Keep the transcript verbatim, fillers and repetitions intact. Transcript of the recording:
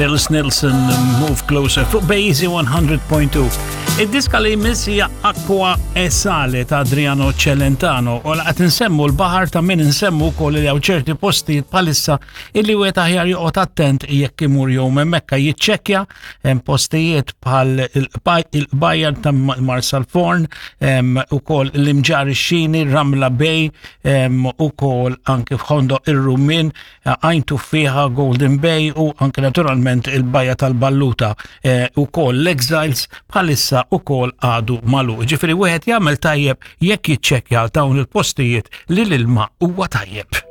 Phil Nilsson, Move Closer fuq Bejzi one hundred point two. Id-diska li jmiss hija Acqua e Sale ta' Adriano Celentano, u laqgħet nsemmu l-baħar, ta' min nsemmu wkoll li hawn ċerti postijiet bħalissa illi wieħed aħjar joqgħod attent jekk imur jew hemmhekk jiċċekkja. Hemm postijiet bħal il-bajja ta' Marsalforn, ukoll l-Imġarr ix-Xini, Ramla Bay, ukoll anke f'Ħondoq ir-Rummien, Għajn Tuffieħa, Golden Bay u anke naturalment il-bajja tal-Balluta, ukoll l-Exiles bħalissa ukoll għadu magħluq. Ġifieri wieħed jagħmel tajjeb jekk jiċċekkja għal dawn il-postijiet li l-ilma huwa tajjeb.